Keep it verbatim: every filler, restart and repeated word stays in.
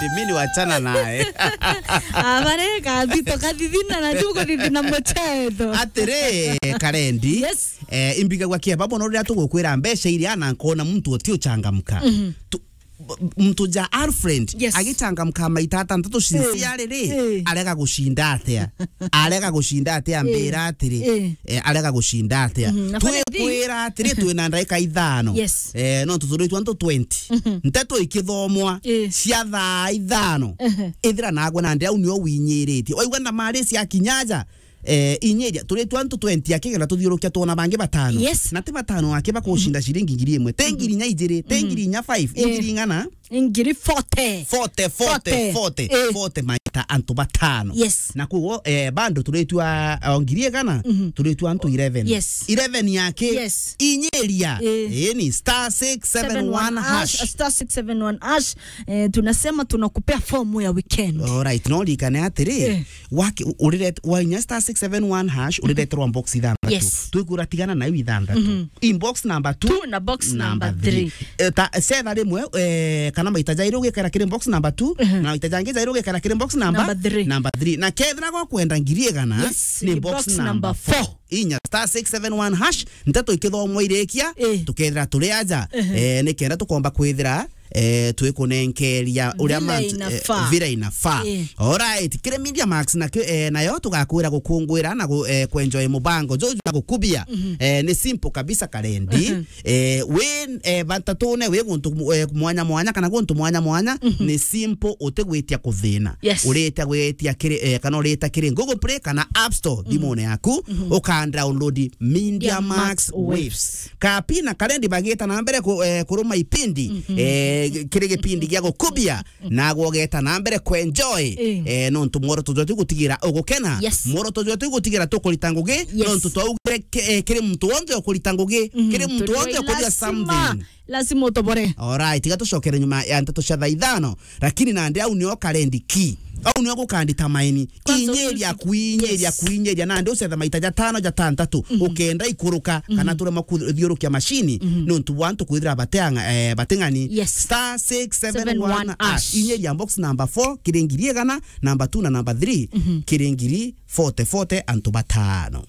Mimi ni wachana naye. Abare kathito kathithina na juko thithina mucheto. Atiri, Karendi. Yes. Eh, imbigagwa kieba mono riria tugukwira mbeca iria na nkona muntu oti uchangamka. Mhm. Tu-, b-, mtu ja Alfred, yes, agichangamka maita atantatu, eh, sincerely, eh, arega gucinda atia? Arega gucinda atia? Eh. Mbira atiri, eh, eh, arega gucinda atia? Mhm. Na fanya thing. Twikwira atiri, twina ndaika ithano. Yes. Eh, no tuturitwe antu twenty. Mhm. Nteto ikithomwa, eh, cia thaa ithano. Mhm. Ithira nagwe nandi au nio winyiritie. Waigua na mari cia kinyaja, eh, inyiria, turitwe antu twenty akigenda tuthiurukia twona bangi batano. Yes. Na ti batano ake bakushinda, mhm, ciringi ngiri imwe. Te, mhm, ngiri inya ijiri, te, mhm, ngiri inya five, eh, ngiri ing'ana? Ngiri forty. Forty, forty, forty, forty, eh, forty maita antu batano. Yes. Na kuo, eh, bando turitwa, o ngiri igana, mhm, turitwa antu eleven. Yes. Eleven yake, yes, inyiria. Eh. Ii ni star six seven one hash. Star six seven one hash. Eh, tunasema tunakupea fomu ya weekend. Alright, no ririkane atiri, eh, waki-, u-, urire-, wainya star six seven one hash, urireterwa box ithanthatu. Yes. Twikura tigana na iu ithanthatu. Mhm. In box number two, two na box number three. Eh, ta, cetha rimwe, eh, kana maita jairi ugikara kiri box number two, mhm, na maita jangi jairi ugikara kiri box number, number three. Number three. Na kethira gokwenda ngiri igana, yes, ni box number four. Inya star six seven one hash, nteto ikithomwa irikia, eh, tukethira turi aja, ehe, eh, nikenda tukomba kwithira, eh, twikunenkeria uria vile mantu, eh, inafaa. Vile inafaa. Eh. Alright, kiri Media Max na ki-, eh, nayo tugakwira gukungwira na gu-, eh, kuenjoy mubango juju na gukubia. Mhm. Eh, ni simple kabisa, Karendi. Mhm. Eh, wi, eh, batatune wi guntu, eh, mwanya mwanya kana guntu mwanya mwanya, mhm, ni simple, utigwitia kuthina. Yes. Uritia gwitia kiri, eh, kana urita kiri Google Play kana App Store, mhm, thimune yaku, mhm, uka download Media Max Waves. Kapi na Karendi bagita na mbere ku-, eh, kuruma ipindi, mhm, eh, kiri gipindi gia gukubia, nagwe ugeta na mbere kuenjoy, eh, eh, nontu mworoto jwetu gutigira ugukena. Yes. Mworoto jwetu gutigira tukurita ngugi, yes, nontu twaugire ke-, eh, kiri muntu wonthe ukurita ngugi, mhm, kiri muntu wonthe ukuria something. Lazima utobore. Alright, tiga tucokere nyuma ya nteto cia thaa ithano, lakini nandi au nio Karendi ki. Au nio gukandita maini. Kwanza inyiria usi-, kuinyiria, yes, kuinyiria, nandi ucetha maita jatano, jatantatu, mhm, ukenda ikuruka, mhm, kana turema kuthiurukia mashini, mhm, nontu bwa antu kwithira bateanga-, eh, bating'ani. Yes. Star six seven one hash. Seven one hash. Inyiria box number four, kiri ngiri igana, number two na number three, mhm, kiri ngiri forty, forty, antu batano.